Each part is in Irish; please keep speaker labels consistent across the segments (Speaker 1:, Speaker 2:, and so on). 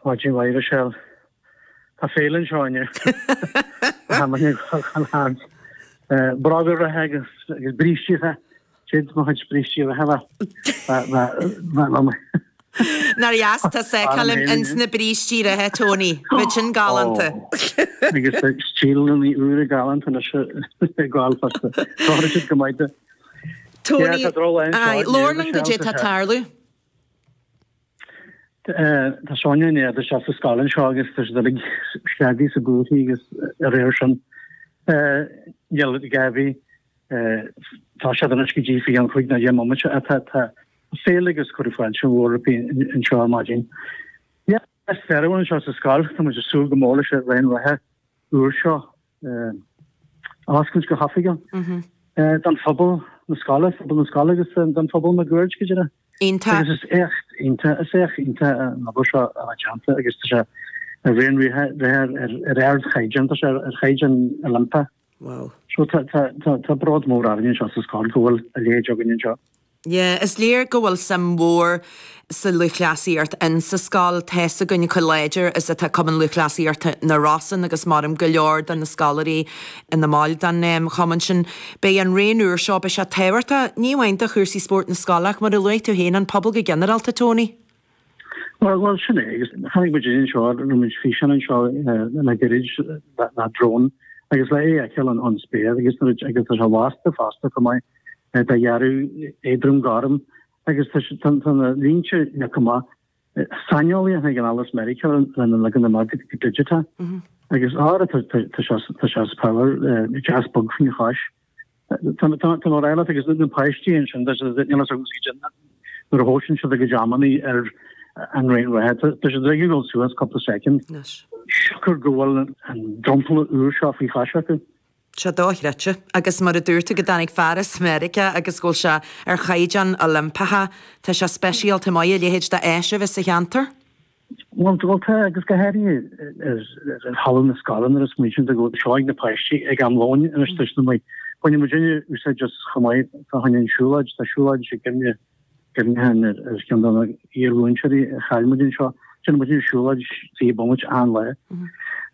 Speaker 1: Maidin mhaith, Michelle. Tá féile anseo inniu. Bróga reatha agus brístí reatha. Siad mo chuid brístí reatha
Speaker 2: le. Nár dheas tusa a fheiceáil ins na brístí reatha, Tony. Bheadh sin galánta.
Speaker 1: Agus stíleanna úra galánta anois ag gabháil fosta. Tá siad go maith.
Speaker 2: Tony, labhair linn goidé tá ag tarlú.
Speaker 1: Tá Sonia i ndiaidh dul isteach sa scoil anseo agus tá siad uilig scagaithe is buartha agus a réir sin. Níl gá a bheith. Tá siad anois go dtí faoi cheann 5 nó 10 mbomaite ach tá féile agus cuireadh fáilte mhór roimpi anseo ar maidin. Yeah, is fearr anseo sa scoil, tá muid ag súil go mór leis an raon reatha úr seo. a oscailt go hoifigiúil don phobal na scoile, phobal na scoile agus don phobal máguaird go díreach.
Speaker 2: Iontach.
Speaker 1: Agus is éacht iontach, is éacht iontach an obair seo a bheith déanta agus tá sé ar raon reatha ar ardchaighdeán, tá sé ar chaighdeán Oilimpeach.
Speaker 2: Wow.
Speaker 1: So tá, tá, tá, tá bród mór orainn anseo sa scoil go bhfuil a leithéid againn anseo.
Speaker 2: Yeah, is léir go bhfuil suim mhór sa lúthchleasaíocht in sa scoil. Tá's againn chomh láidir is atá Cumann Lúthchleasaíochta na Rosann agus maram go leor de na scoláirí ina mbaill den chumann sin. Beidh an raon úr seo, beidh sé tábhachtach, ní amháin do chúrsaí spóirt na scoile ach mar a luaigh tú féin, an pobal go ginearálta, Tony.
Speaker 1: Bhuel, bhuel, sin é. Agus chonaic muid anseo, rinne muid físeán anseo le gairid le drone agus le é a fheiceáil ón spéir agus nuair agus tá sé lasta fosta chomh maith. De dhearadh éadrom gorm agus tá na línte leagtha amach. Saineolaí a tháinig anall as Meiriceá lena leagan amach go digiteach agus ara tá sé as power deas bog faoina chois. Tá mé ag rá leat agus na páistí ansin níl a fhios agam nuair a thomhaiseann siad a gcuid amannaí ar an raon reatha tá siad ag dul suas cúpla soicind siocair go bhfuil an dromchla úr seo faoi chois acu.
Speaker 2: sé dochreidte. Agus mar a dúirt tú go dtáinig fear as Meiriceá agus go bhfuil sé ar chaighdeán Oilimpeach, tá sé speisialta maith a leithéid d'áis a bheith sa cheantar.
Speaker 1: Bhuel, bhuel tá, agus go háirithe ar thalamh na scoile nuair a smaoiníonn tú go bhfuil seo ag na páistí ag am lóin anois tá siad amuigh. Baineann muidinne úsáid as chomh maith fá choinne an siúlóid, tá siúlóid i gcuimhne cuimhneachán ar cheann de na hiar-mhúinteoirí a chaill muid anseo. Déanann muid siúlóid 20 bomaite achan lá.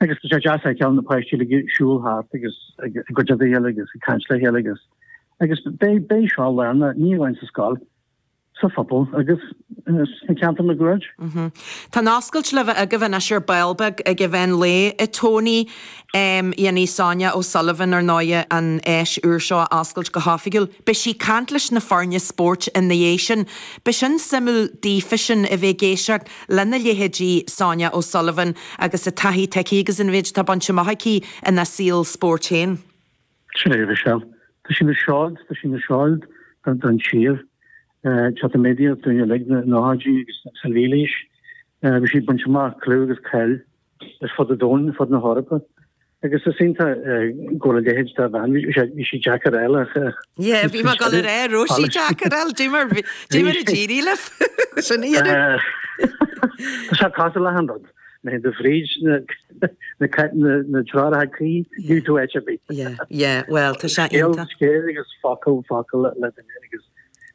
Speaker 1: Agus tá sé deas a fheiceáil na páistí uilig ag siúl thart agus ag goid a chéile agus ag caint le chéile agus agus beidh beidh seo lárnach ní amháin sa scoil, sa phobal agus sna ceantair máguaird.
Speaker 2: Tá an oscailt le bheith agaibh anois ar ball beag ag an mheán lae, a Tony. Dhéanfaidh Sonia O'Sullivan, ar ndóighe, an áis úr seo a oscailt go hoifigiúil. Beidh sí ag caint leis na foirne spóirt ina dhiaidh sin. Beidh sin suimiúil daofa sin a bheith ag éisteacht lena leithéidí Sonia O'Sullivan agus an taithí atá aici agus an mhéid atá bainte amach aici ina saol spóirt féin.
Speaker 1: Sin é, Michelle. Tá sí ina seoid, tá sí ina seoid don tír. Tá an méadaíocht dúinn uilig, na nóchaidí agus sa mhílaois. Bhí sí ag baint amach clú agus cáil ar fud an domhain, ar fud na hEorpa. Agus is iontach go bhfuil a leithéid de bhean, bhí sí deacair a fháil
Speaker 2: ach. Yeah, bhí mé ag dul a rá, raibh sí deacair a fháil, dé mar a d'éirigh libh sin a dhéanamh.
Speaker 1: Tá sé cosúil le achan rud. Má théann tú fríd na treoracha cuí, gheobhaidh tú áit ar bith.
Speaker 2: Yeah, yeah, well, tá sé iontach.
Speaker 1: Scéal agus focal, focal le duine agus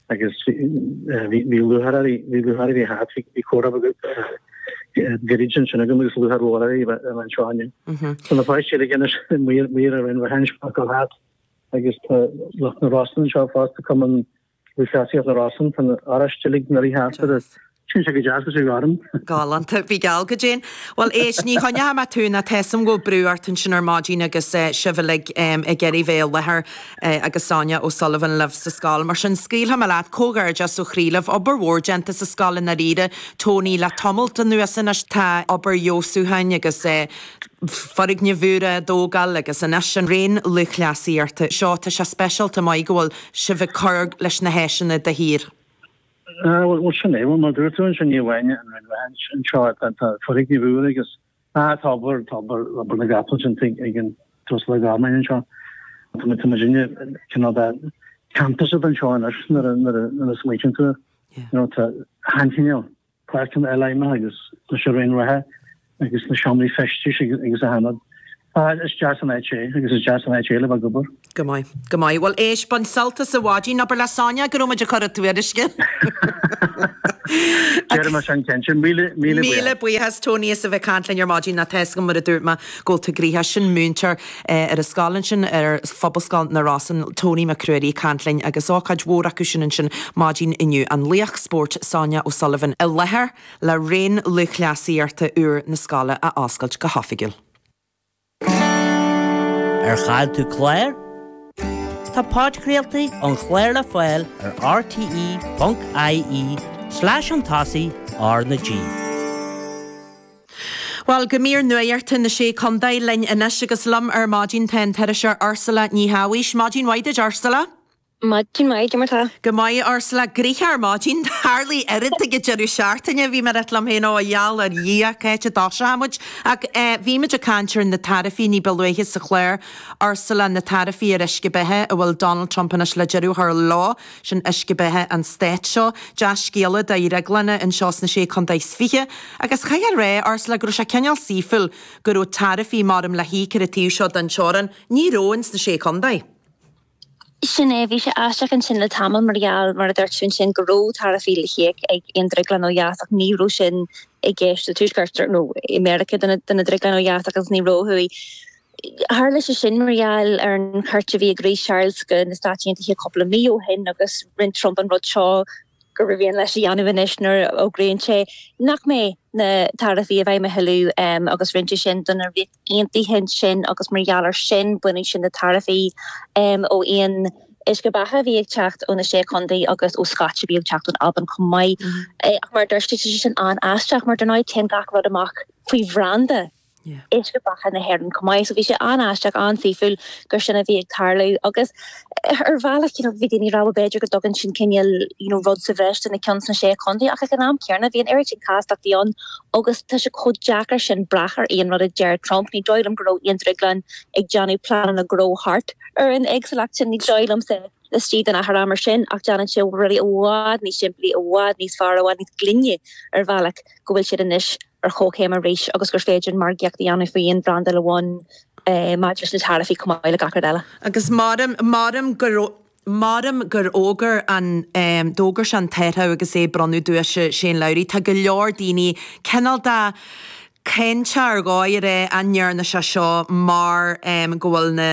Speaker 1: agus bhí lúcháir uirthi, bhí lúcháir uirthi thart, bhí comhrá gairid ansin agam agus lúcháir mhór uirthi a bheith anseo inniu. Tá na páistí uilig anois amuigh ar an bhfeithis focal thart agus tá lucht na Rosann anseo fosta, Cumann Lúthchleasaíocht na Rosann, tá na Oráistigh uilig nuair a thart ar Sin sé go deas go sé gorm.
Speaker 2: Galánta. Bhí geall go déan. Bhuel, éist, ní choinneoidh mé tú ná tá 'fhios a'm go bhfuil brú ort ansin ar maidin agus sibh uilig ag iarraidh bheith i láthair agus Sonia O'Sullivan libh sa scoil. Mar sin, scaoilfidh mé leat. Comhghairdeas ó chroí libh. Obair mhór déanta sa scoil i ndáiríre, Tony, le tamalt anuas anois. Tá obair fheabhsúcháin agus foirgnimh úra á dtógáil agus anois an raon lúthchleasaíochta seo. Tá sé speisialta maith go bhfuil sibh ag cur leis na háiseanna de shíor.
Speaker 1: Bhuel, sin é. Bhuel, mar a dúirt tú ansin, ní amháin an Roinn Reatha anseo, tá foirgnimh úra agus tá obair, tá obair, obair na gcapall déanta ag an tUasal Ó Gormáin anseo. Tá muid, tá muidinne cineál de campus atá anseo anois nuair a, nuair a, nuair a smaoitíonn tú air. You know, tá an-chineál páirceanna eile aidhmeacha agus leis an raon reatha agus na seomraí feistis agus achan rud. Ah, is deas an áit é agus is deas an áit é le bheith ag obair.
Speaker 2: Go maith, go maith. Bhuel, éist, bain sult as an mhaidin, abair le Sonia go raibh muid ag cur a tuairisce.
Speaker 1: Déarfaidh mé sin cinnte. Míle, míle buíochas.
Speaker 2: Míle buíochas, Tony, as a bheith ag caint linn ar maidin. Tá a fhios agam, mar a dúirt mé, go bhfuil tú gnoitheach. Sin múinteoir ar an scoil ansin, ar Phobalscoil na Rosann, Tony Mac Ruairí ag caint linn agus ócáid mhór acu sin ansin maidin inniu. An laoch spóirt Sonia O'Sullivan i láthair le raon lúthchleasaíochta úr na scoile a oscailt go hoifigiúil.
Speaker 3: Ar chaill tú clár? Tá podchraoltaí an chláir le fáil ar rte.ie slash chun tosaigh R na G.
Speaker 2: Bhuel, go mír nuachta na Sé Contae linn anois agus liom ar maidin tá an t-iriseoir Ursula Ní Shabhaois. Maidin mhaith duit, Ursula.
Speaker 4: Maidin mhaith, cad é mar tá?
Speaker 2: Go maith, Ursula. Gnoitheach ar maidin. Tharlaigh oiread ag an deireadh seachtaine. Bhí mé ag ráit liom féin, ó, a gheall ar Dhia, cá háit a dtoiseoidh muid? Ach bhí muid ag caint ar na taraifí ní ba luaithe sa chlár, Ursula, na taraifí ar uisce beatha a bhfuil Donald Trump anois le deireadh a chur leo, sin uisce beatha an stáit seo. Dea-scéala do dhrioglanna anseo sna Sé Contae is Fiche. Agus chaithfeá a rá, Ursula, go raibh sé cineál saoithiúil go raibh taraifí maram le híoc ar an taobh seo den teorainn. Ní raibh ins na Sé Contae.
Speaker 4: Sin é, bhí sé aisteach ansin le tamall mar gheall, mar a dúirt tú ansin, go raibh taraifí le híoc ag aon drioglann ó dheas ach ní raibh sin i gceist sa Tuaisceart nó i Meiriceá do na drioglainn ó dheas agus ní raibh ó thuaidh. Tharla sé sin mar gheall ar an chuairt a bhí ag Rí Charles go na Stáit Aontaithe cúpla mí ó shin agus rinne Trump an rud seo gur mhian leis a dhéanamh anois nuair a fhógraíonn sé nach mbeidh na taraifí i bhfeidhm a thuilleadh agus rinne sé sin don Ríocht Aontaithe ansin agus mar gheall air sin baineadh sin na taraifí ó aon uisce beatha a bhí ag teacht ó na Sé Chontae agus ó Scotch a bhí ag teacht ón Albain chomh maith. Ach mar a dúirt tú, tá sé sin an-aisteach mar dar ndóigh téann gach rud amach faoi bhranda. Uisce Beatha na hÉireann chomh maith. So bhí sé an-aisteach, an-saoithiúil gur sin a bhí ag tarlú agus ar bhealach you know bhí daoine ag rá bhuel b'fhéidir go dtugann sin cineál you know rud sa bhreis do na ceann sna Sé Chontae ach ag an am céanna bhí an oiread sin castachtaí ann agus tá sé chomh deacair sin brath ar aon rud a deir Trump. Ní dóigh liom go raibh aon drioglann ag déanamh pleananna gnó thart ar an éagsúlacht sin, ní dóigh liomsa. laistigh den achar ama sin ach déanann sé rudaí i bhfad níos simplí, i bhfad níos fearr, i bhfad níos glaine ar bhealach go bhfuil siad anois ar chomhchéim arís agus gur féidir an margaíocht a dhéanamh faoi aon bhrandáil amháin maidir leis na taraifí chomh maith le gach rud eile.
Speaker 2: Agus maram, maram gur, maram gur fhógair an, d'fhógair sé an t-athrú agus é ag bronnadh duaise Shane Lowry, tá go leor daoine cineál de cáinteach ar dhóigh a rá an ndearna sé seo mar go bhfuil na,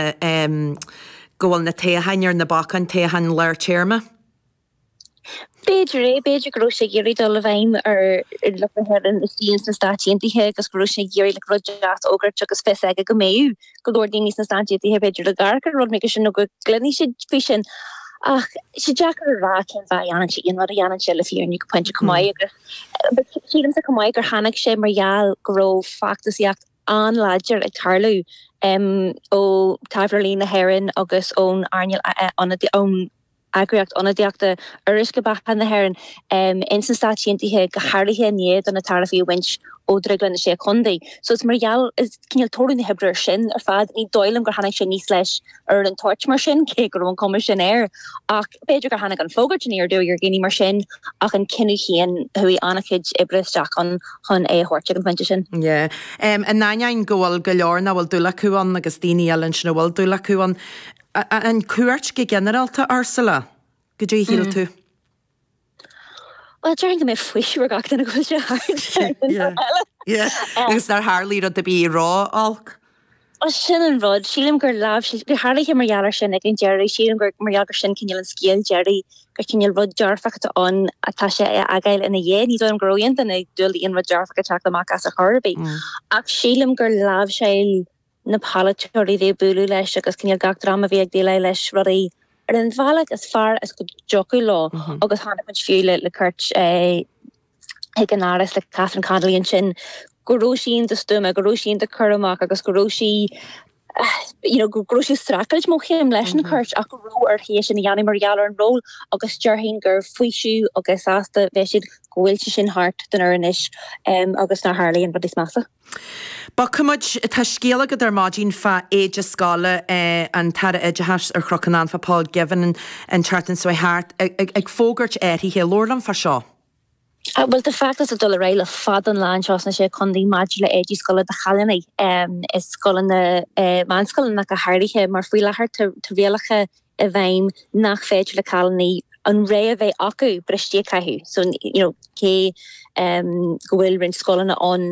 Speaker 2: go bhfuil na toghcháin ar na bacáin, toghcháin lár téarma.
Speaker 4: B'fhéidir é, b'fhéidir go raibh sé ag iarraidh dul i bhfeidhm ar lucht na hÉireann istigh ins na Stáit Aontaithe agus go raibh sé ag iarraidh like rud deas a fhógairt agus fios aige go mbeadh go leor daoine sna Stáit Aontaithe b'fhéidir ag amharc ar rud mar sin nó go gcluinfidh siad faoi sin. Ach sé deacair a rá cén fáth a dhéanann sé aon rud a dhéanann sé le fírinne go pointe chomh maith agus sílimse chomh maith gur tháinig sé mar gheall go raibh feachtasaíocht an-láidir ag tarlú ó Taibhreoirí na hÉireann agus ón earnáil ón eagraíocht ionadaíochta ar Uisce Beatha na hÉireann ins na Stáit Aontaithe, go háirithe i ndiaidh do na taraifí a bhaint ó Dhrioglann na Sé Chontae. So is mar gheall, is cineál toradh na hoibre ar sin ar fad. Ní dóigh liom gur tháinig sé aníos leis ar an toirt mar sin, cé go raibh an chuma sin air. Ach b'fhéidir gur tháinig an fógairt aniar aduaidh ar dhaoine mar sin, ach an cinneadh féin, chuaigh an-chuid oibre isteach ann chun é a thabhairt ag an phointe sin.
Speaker 2: Yeah. In ainneoin go bhfuil go leor nach bhfuil dúil acu ann agus daoine eile ansin a bhfuil dúil acu ann, An cuairt go ginearálta, Ursula, goidé a shíl tú?
Speaker 4: Bhuel, déarfainn go mbeidh faoiseamh ar gach duine go bhfuil sé thart.
Speaker 2: Yeah. Agus nár tharlaigh rud ar bith ró-olc?
Speaker 4: Bhuel, sin an rud. Sílim gur láimhseáil, go háirithe mar gheall air sin ag an deireadh, sílim gur mar gheall gur sin cineál an scéal deiridh, gur cineál rud dearfach atá ann atá sé a fhágáil ina dhiaidh. Ní dóigh liom go raibh aon duine ag dúil le aon rud dearfach ag teacht amach as ar chor ar bith. Ach sílim gur láimhseáil na polaiteoirí a bhí ag bualadh leis agus cineál gach dream a bhí ag déileáil leis rudaí ar an bhealach is fearr is go dtiocfadh leo agus chonaic muid fiú le cuairt chuig an Áras le Catherine Connolly ansin go raibh sí iontach stuama, go raibh sí iontach cúramach agus go raibh sí you know go raibh sí ag streachailt mo chéim leis an chuairt ach go raibh uirthi é sin a dhéanamh mar gheall ar an ról agus déarfainn gur faoiseamh agus sásta a bheidh siad go bhfuil sé sin thart don uair anois agus nár tharlaigh an rud níos measa.
Speaker 2: Bogfaidh muid, tá scéal agat ar maidin fá éide scoile, an tAire Oideachais ar Chnoc an Anfa, Paul Givan, an tseachtain seo thart, ag fógairt athraithe. Labhair liom fá seo.
Speaker 4: Bhuel, tá feachtas ag dul ar aghaidh le fada an lá anseo sna Sé Chontae maidir le éidí scoile do chailíní i scoileanna, meánscoileanna go háirithe, mar faoi láthair tá rialacha i bhfeidhm nach féidir le cailíní an rogha a bheith acu bristí a chaitheamh. So, you know, cé go bhfuil roinnt scoileanna ann.